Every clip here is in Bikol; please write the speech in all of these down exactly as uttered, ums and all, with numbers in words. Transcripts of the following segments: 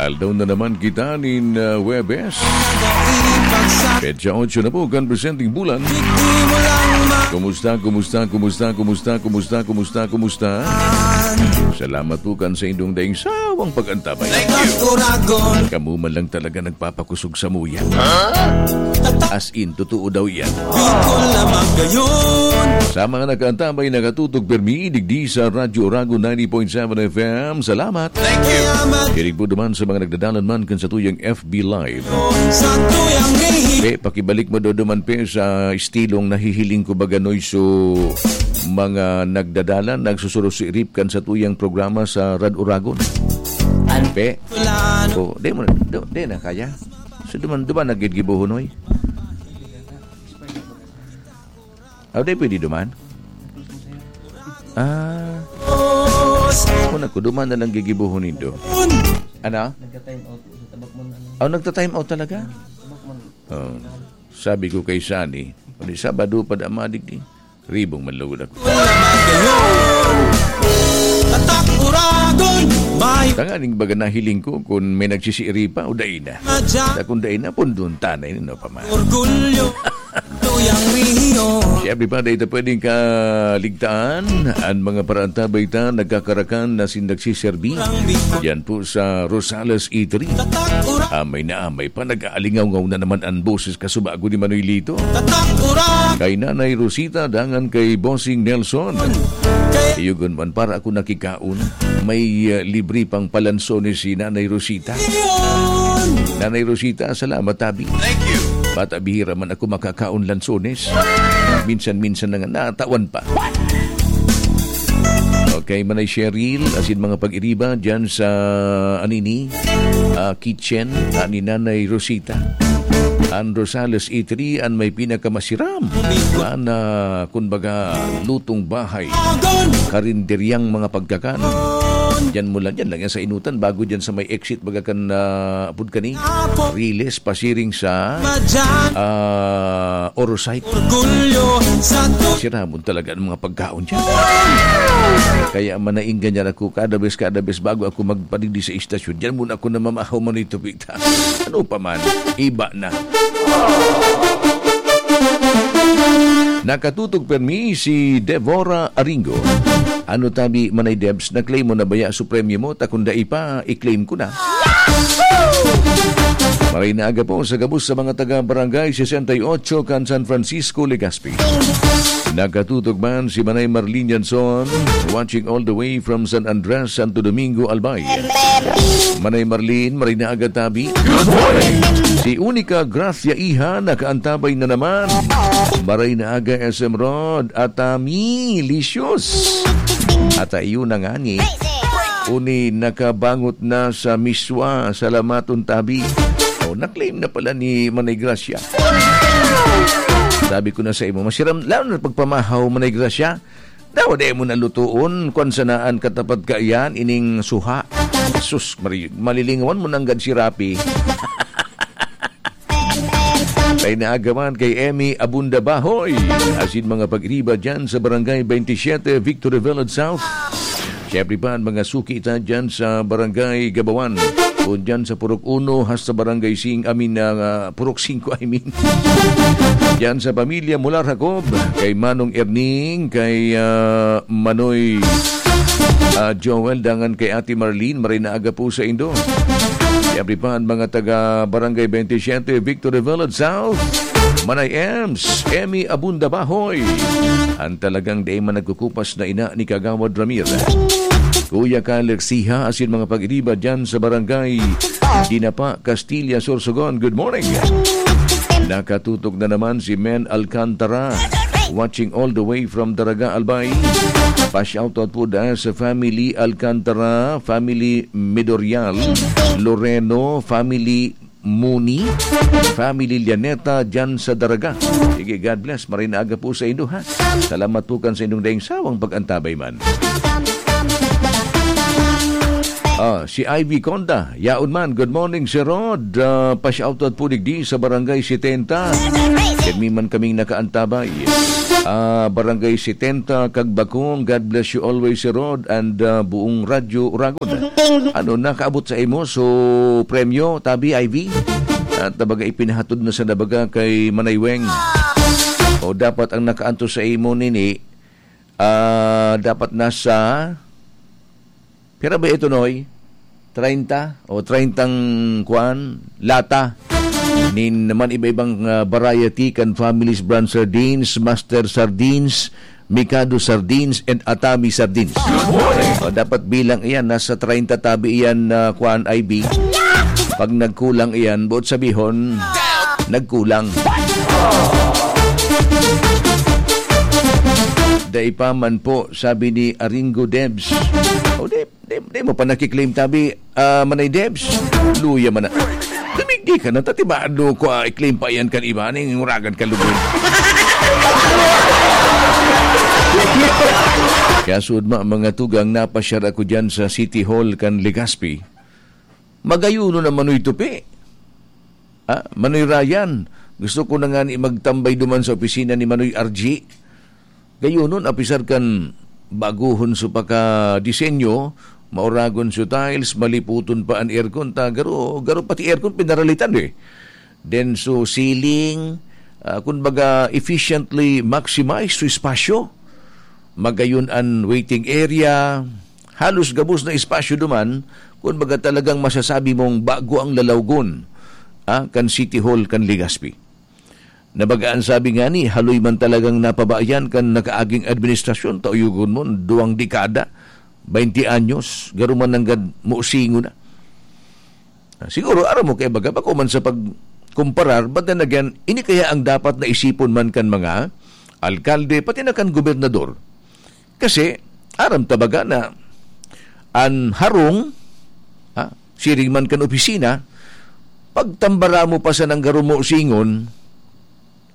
Aldaw na naman kita nin, ah, Huwebes. Petsa otso na po kan presenteng bulan. Kumusta, kumusta, kumusta, kumusta, kumusta, kumusta, kumusta? Salamat po kan saindong daing sawang pag-antabay. Thank you. Kamo man lang talaga nagpapakusog samuya. As in, totoo daw yan. Sa mga nag-aantabay, nakatutok permi, digdi sa Radyo Oragon ninety point seven F M, salamat. Thank you. Hilig po duman sa mga nagdadalan man kan satuyang F B Live. Pe, pakibalik mo do duman, pe, sa estilong nahihiling ko baga, Noy. So, mga nagdadalan, nagsusurusirip kan satuyang programa sa Rad Oragon. Pe, o, di mo, di, di na kaya. So, duman, duman naggigibuhon, Noy. Aw, di pwede duman? Ah. Una ko, duman na lang gigibuhon nindo. Ano? Nagka-time out sa tabak mo na, ano? Aw, nagta-time out talaga? Tabak mo na. Oh. Sabi ko kay Sunny, "Pwede Sabado pa da madigdi." Ribong manlugod ako. Tatak Uragon, may Tanganing baga nahiling ko kung may nagsisiiri pa o dai na. Madya. Sa kung dai na, pundon tanay, no, pa man. Orgulyo, tuyang rehiyon. Siyempre pa, dai ta pwedeng kaligtaan. Ang mga paraantabay ta, nagkakarakan na sin nagsiserbi. Yan po sa Rosales Eatery. Tatak Uragon. Amay na amay pa, nag-aalingaw na naman ang boses kasubago ni Manoy Lito. Tatak Uragon. Kay Nanay Rosita, dangan kay Bossing Nelson. Kay Iyugon man, para ako nakikaon. May, uh, libre pang palansones si Nanay Rosita. Nanay Rosita, salamat, tabi. Thank you. Bata bihira man ako makakaon lansones. Minsan-minsan na nga, natawan pa. Okay, Manay Cheryl, asin mga pag-iriba dyan sa, anini, ah, kitchen, ah, ni Nanay Rosita. Ang Rosales Eatery, ang may pinakamasiram na, na, kumbaga, lutong bahay. Karinderyang mga pagkakan. Diyan mo lang, diyan lang yan sa Inutan, bago diyan sa may exit, baga kan, ah, apod kani, Riles, pasiring sa, ah, Orosite. Orgulyo sa tu- Siramon talaga ang mga pagkaon dyan. Kaya manainggan yan ako, kada bes, kada bes, bago ako magpadigdi sa istasyon, dyan muna ako namamahaw man ito, pita. Ano pa man, iba na. Nakatutok permi si Devora Aringo. Ano tabi, Manay Debs, na-claim mo na baya so premyo mo? Ta kung dai pa, i-claim ko na. Maray na aga po sa gabos sa mga taga Barangay sesenta y ocho kan San Francisco, Legazpi. Nakatutok man si Manay Marlene Janson, watching all the way from San Andres, Santo Domingo, Albay. Manay Marlene, maray na aga tabi. Good morning! Si Unica Gracia Iha, nakaantabay na naman. Maray na aga, S M Rod, at, ah, Milicious. At, ah, iyo na nga ni. Uni nakabangot na sa miswa, salamaton tabi. O, na-claim na pala ni Manay Gracia. Sabi ko na sa imo, masiram, lalo na pagpamahaw, Manay Gracia. Dawa di mo nalutoon, kwan sana an katapat kaiyan, ining suha. Sus, mari-, malilingawan mo nanggad si Rapi. Ay naagaman kay Emmy Abunda Bahoy. Asin mga pag-iriba dyan sa Barangay twenty-seven, Victory Village South. Siyempre pa, ang mga suki ta dyan sa Barangay Gabawan. O dyan sa Purok Uno, hasta Barangay Sing, I mean, ah, Purok Singko, I mean. Dyan sa pamilya Mular Jacob, kay Manong Erning, kay, ah, Manoy, ah, Joel, dangan kay Ate Marlene, maray na aga po sa indo. Siyempre pa, ang mga taga Barangay twenty-seven, Victory Village South, Manay Ems, Emmy Abunda Bahoy. Ang talagang di man nagkukupas na ina ni Kagawad Ramir. Kuya Kyle Lexiha, asin mga pag-iriba dyan sa Barangay Dinapa, Castilla, Sorsogon. Good morning. Nakatutok na naman si Men Alcantara, watching all the way from Daraga, Albay. Pa-shoutout po dahil sa family Alcantara, family Midorial, Loreno, family Muni, family Llaneta, dyan sa Daraga. Sige, God bless. Maray na aga po sa indo, ha? Salamat po kan sa indong daing sawang pag-antabay man. Ah, si Ivy Conda, yaon man. Good morning, Sir Rod. Ah, pa-shoutout po digdi sa Barangay setenta. Pirmi man kaming nakaantabay. Ah, Barangay setenta, Kagbakong. God bless you always, Sir Rod, and, ah, buong Radyo Uragon. Ano, nakaabot sa imo? So, premyo, tabi, Ivy? At tabaga ipinahatod na sa nabaga kay Manay Weng. O dapat ang nakaantos sa imo nini, ah, dapat nasa, pira ba ito, Noy? Treinta o treintang kuan, lata nin naman iba-ibang, ah, variety kan Family's Brand Sardines, Master Sardines, Mikado Sardines, and Atami Sardines. O, dapat bilang iyan, nasa treinta tabi iyan na kuan, I B. Pag nagkulang iyan, buot sabihon, nagkulang. Dai pa man po, sabi ni Aringo Debs. O, di, di, di mo pa nakiklaim tabi, ah, Manay Debs. Luya man na. Dumigdi ka na, tatibado ko, ah, i-claim pa iyan kan iba, ning uragan ka lugod. Kaya sud ma, mga tugang, napasyar ako dyan sa City Hall kan Legazpi. Magayuno na Manoy Tupi. Ah, Manoy Ryan, gusto ko na nga ni magtambay duman sa opisina ni Manoy R G. Gayunon, apisar kan baguhon so paka-disenyo, mauragon so tiles, maliputon pa an aircon, ta garo, garo pati aircon pinaralitan eh. Then so ceiling, ah, kun baga efficiently maximize so espasyo. Magayon an waiting area, halos gabos na espasyo duman, kun baga talagang masasabi mong bago ang lalawgon, ah, kan City Hall kan Legazpi. Nabaga an sabi ngani, haloy man talagang napabayan kan nakaaging administrasyon, ta uyogon mo, duwang dekada, baynte anyos, garo man nanggad musingon na. Ah, siguro, aram mo, kay baga, bako man sa pagkumparar, but then again, ini kaya ang dapat na isipon man kan mga alkalde, pati na kan gobernador. Kasi, aram ta baga na an harong, ha, siring man kan opisina, pagtambara mo pa sa nanggaro mo singon,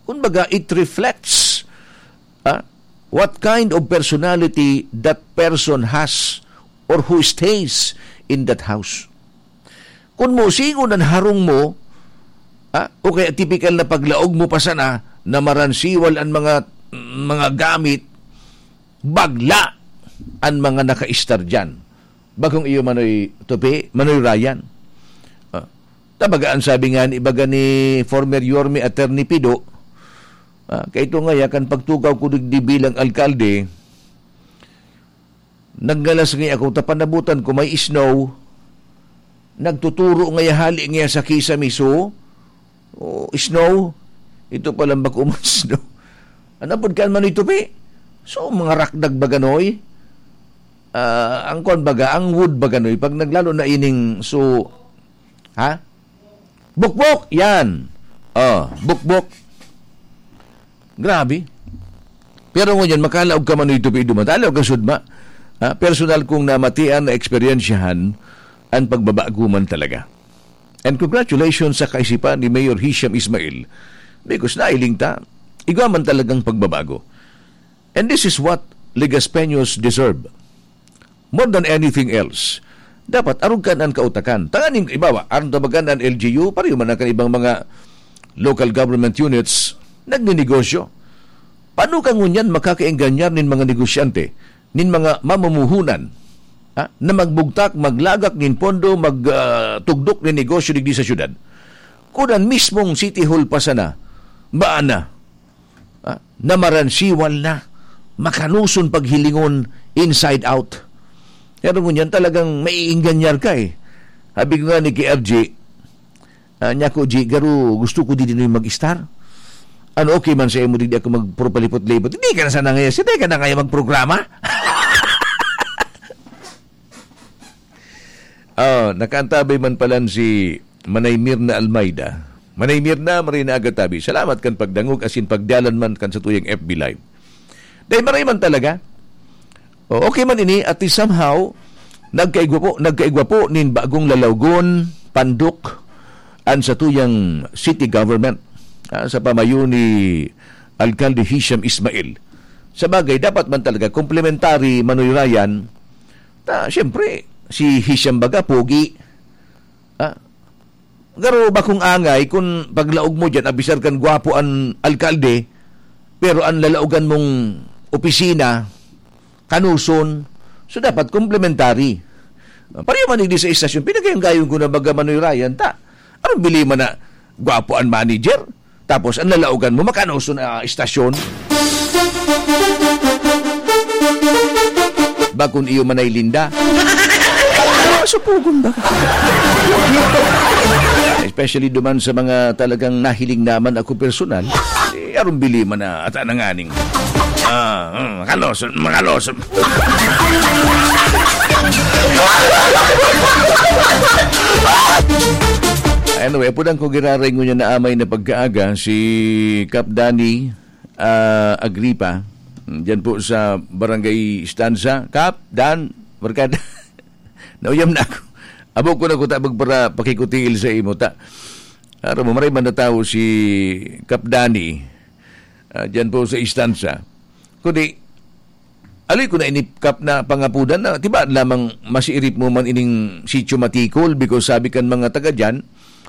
kumbaga, it reflects, ha, what kind of personality that person has or who stays in that house. Kun mo singon an harong mo, ha, o kaya tipikal na paglaog mo pa sana na maransiwal an mga, mga gamit, bagla an mga nakaistar diyan. Bagong iyo Manoy Tupi, Manoy Ryan. Ah, tabaga an sabi nga ni, baga ni former Yorme Attorney Pido, ah, kay ito nga, ya, kan pagtukaw ko digdi bilang alkalde, naggalas nga ako, ta panabutan ko may snow, nagtuturo nga ya hali nga ya sa kisame, so, oh, snow, ito palang bako man snow. Ano pod kan Manoy Tupi? So, mga rakdag baganoy. Ah, ang kwan baga, ang wood baganoy, pag naglalo na ining, so, ha? Bukbok! Yan! Oh, bukbok. Grabe. Pero ngunyan, makalaog ka Manoy Tupi duman. Talaw ka sudma. Ha? Personal kong namatian na eksperyensyahan ang pagbabago man talaga. And congratulations sa kaisipan ni Mayor Hisham Ismail. Because nailing ta, igwa man talagang pagbabago. And this is what Legaspeños deserve. More than anything else, dapat arog kan an kautakan. Tanganing ibawa, aron tabagan an L G U, pareho man ang kan ibang mga local government units, nagninegosyo. Paano ka ngunyan makakaengganyar nin mga negosyante, nin mga mamumuhunan, ha, na magbugtak, maglagak nin pondo, mag, ah, tugdok nin negosyo digdi sa syudad? Kun an mismong City Hall pa sana, baan na, ah, na maransiwal na, makanuson paghilingon inside out. Pero ngunyan talagang maiingganyar ka eh. Sabi ko nga ni ki R G, ah, niya ko, "G, garo, gusto ko di din mag-star. Ano, okay man sa imo, di ako magpurpalipot-lipot." Hindi ka na sana ngayon, hindi ka na ngayon magprograma. Ah, nakaantabay man palan si Manay Mirna Almeida. Manay Mirna, maray na aga tabi. Salamat kan pagdangog asin pagdalan man kan satuyang F B Live. Dahil maray man talaga. O, okay man ini, at least somehow, nagkaigwa po, nagkaigwa po nin bagong lalawgon, pandok, an satuyang city government, ah, sa pamayo ni Alkalde Hisham Ismail. Sa bagay, dapat man talaga, complementary, Manoy Ryan, ta, siyempre, si Hisham baga, pogi. Ah, garo bakong angay kun paglaog mo diyan, abisar kan gwapo an alkalde, pero an lalaogan mong opisina, kanoson. So, dapat komplementary. Ah, pareho man digdi sa istasyon, pinagayang-gayong ko na baga, Manoy Ryan, ta. Anong bili man na gwapo an manager? Tapos, ang lalaogan mo, makanoson na istasyon. Bakon iyo manay linda. Supugon ba? Especially duman sa mga talagang nahiling naman ako personal, eh, arong bili man na ata na nganing. Ah, hmm, makaloson, makaloson. Anyway, apo dang ko giraray ngunyan na amay na pagkaaga, si Kap Danny, ah, Agripa, diyan po sa Barangay Stanza. Kap, Dan, barkada. Nauyam na ako. Abo ko na kuta magpara pakikutiil sa imo, ta. Aram mo, maray man na tao si Kap Danny, ah, diyan po sa Stanza. Kundi, aloy ko na ini, Kap, na pangapudan na, tiba lamang masiirip mo man ining sitio Matikol, because sabi kan mga taga diyan,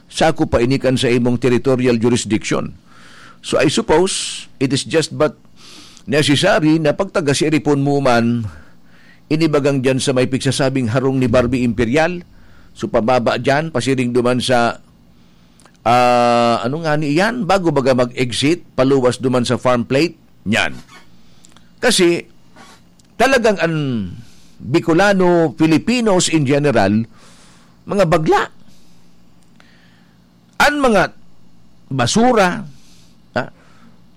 sako pa ini kan sa imong territorial jurisdiction. So, I suppose, it is just but necessary na pagtaga-siiripon mo man, inibagang diyan sa may pigsasabing harong ni Barbie Imperial. So, pababa diyan, pasiring duman sa, ah, ano nga ni iyan? Bago baga mag-exit, paluwas duman sa farm plate, niyan. Kasi, talagang an Bicolano, Filipinos in general, mga bagla. An mga basura, ha?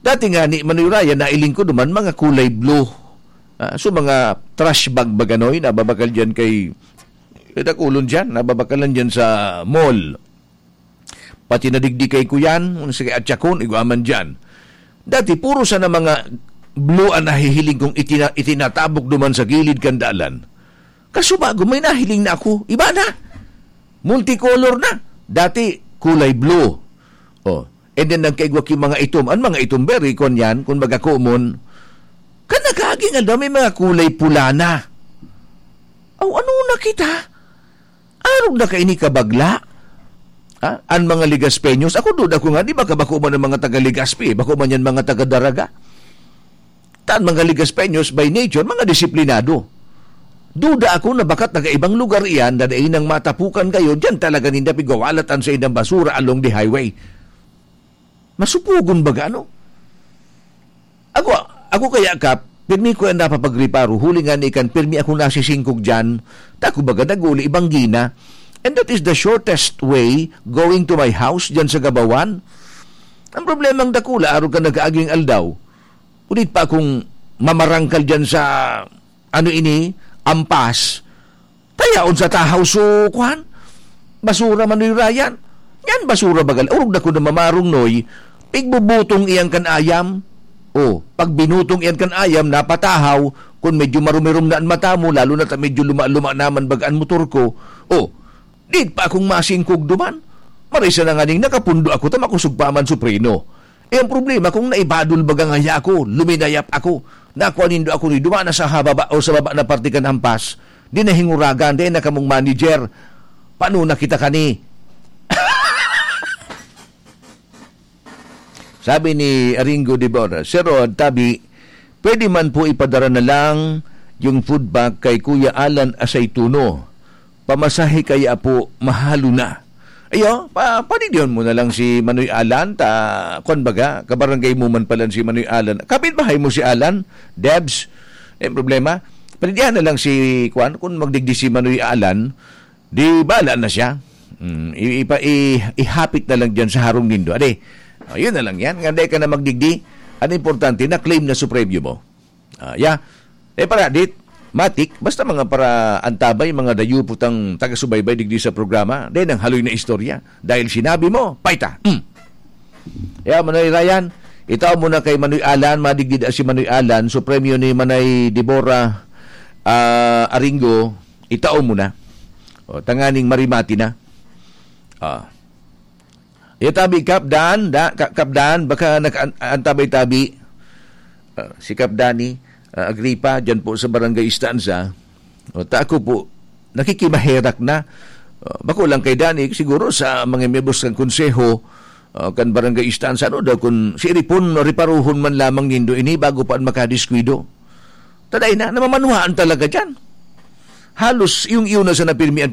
Dati nga ni Manoy Ryan, nailing ko duman, mga kulay blue. Ha? So, mga trash bag ba ganoy, nababakal diyan kay, kay Dakulon diyan, nababakalan diyan sa mall. Pati na digdi kay Kuyan, kung sa kay Atyakon, igwa man diyan. Dati, puro sana mga blue ang nahihiling kong itina-, itinatabok duman sa gilid kan dalan. Kasubago, may nahiling na ako. Iba na. Multicolor na. Dati, kulay blue. Oh. And then, nagkaigwa ki mga itom. Ang mga itom, very kon yan, kung baga common. Kan nagkaagi nga daw, may mga kulay pula na. Aw, ano na kita? Arog na kaini kabagla? Ha? An mga Legaspeños, ako duda ko nga, di ba kabako man ang mga taga Legazpi, bako man yan mga taga Daraga? Tan mga Legaspeños, by nature, mga disiplinado. Duda ako na bakat taga ibang lugar iyan na dai nang matapukan kayo, diyan talaga ninda pigwawalatan sa indang basura along the highway. Masupugon baga, ano? Ako, ako kaya, Kap, pirmi ko yan napapagreparo, huli nga ni kan pirmi akong nasisingkog dyan, ta ako baga naguli, ibang gina. And that is the shortest way going to my house dyan sa Gabawan. Ang problemang dakula, araw ka nag-aaging aldaw. Ulit pa akong mamarangkal dyan sa, ano ini, ampas. Tayaon sa tahaw so, kuwan? Basura, Manoy Ryan. Yan, basura bagal. Orog na ko na mamarong, Noy. Pigbubutong iyan kan ayam. O, pag binutong iyan kan ayam, napatahaw, kung medyo marumirom na an mata mo, lalo na ta medyo luma-luma naman baga an motor ko. O, di pa akong masingkog duman. Marisa na nganing nakapundo ako, ta makosog pa man so preno. Eh, ang problema, kung naibadol baga ngaya ako, luminayap ako, nakua nindo ako ni duman na sa hababa o sa baba na parte kan ampas, di nahinguragan, di na kamong manager, paano na kita kani? Sabi ni Aringo de Bora, "Sir Rod, tabi, pwede man po ipadara na lang yung food bag kay Kuya Alan Asaytuno. Pamasahe kaya po, mahalo na." Ayo, pa, panidion mo na lang si Manoy Alan, ta, kwan baga, kabarangay mo man pala si Manoy Alan. Kapit bahay mo si Alan, Debs, eh, problema. Panidihan na lang si, kwan, kung magdigdi si Manoy Alan, di bala na siya. Mm, i-, ipa-, i-, ihapit na lang dyan sa harong nindo. Ade, oh, yun na lang yan. Nga di ka na magdigdi, ang importante, na-claim na so premyo mo. Ah, yeah. Eh, para, dit, matik, basta mga para antabay, mga dayo putang taga-subaybay digdi sa programa, di nang haloy na istorya. Dahil sinabi mo, paita. Mm. Yeah, Manoy Ryan, itao mo na kay Manoy Alan, madigdi da si Manoy Alan, so premyo ni Manay Deborah, ah, Aringo, itao mo na. O, tanganing marimati na. Ah. Ya tabi, Kap Dan, da, Ka-, Kap Dan, baka naka-, an-, antabay tabi. Ah, si Kap Dani, ah, Agripa, dyan po sa Barangay Stanza. O, ta ako po, nakikimaherak na. Uh, bako lang kay Danny, siguro sa mga miyembros kan konseho, uh, kan barangay istansa, ano daw, kung siiripon, reparuhon man lamang nindo ini bago pa an makadiskwido. Taday na, namamanwaan talaga dyan. Halos yung iyo na sa napirmian